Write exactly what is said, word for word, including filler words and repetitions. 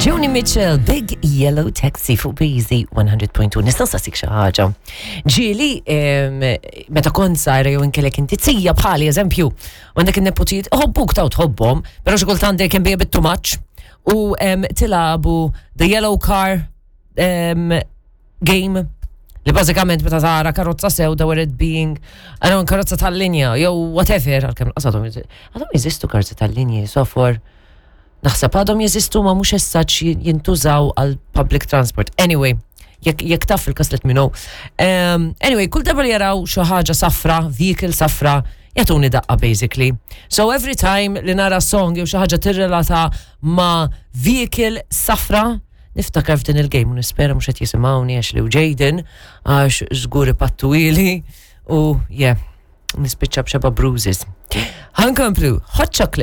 Joni Mitchell, Big Yellow Taxi fuq B Z one hundred point two. Nista' nsaqsik xi ħaġa? Ġieli, em, meta kont żgħira jew inkellek inti zija bħali eżempju, u għandek in-nepotijiet, iħobbuk taw tħobbhom, però xi kultant they can be a bit too much. U em, tilagħbu the yellow car em, game li bażikament meta tara karozza sewda, where it being, I don't know, karozza tal-linja jew whatever, għalkemm għadhom għadhom jeżistu karozza tal-linja, so for naħseb għadhom jeżistu ma mhux essaċ jintużaw għal public transport. Anyway, jekk jekk taf il-kas, let me know. Um, anyway, kull darba li jaraw xi ħaġa safra, vehicle safra, jagħtuni daqqa basically. So every time li nara song jew xi ħaġa tirrelata ma' vehicle safra, niftakar f'din il-game u nispera mhux qed jisimgħuni Ashley u Jaden għax żgur ipattuhieli u yeah, nispiċċa b'xebgħa bruises. Ħa nkomplu, Hot Chocolate.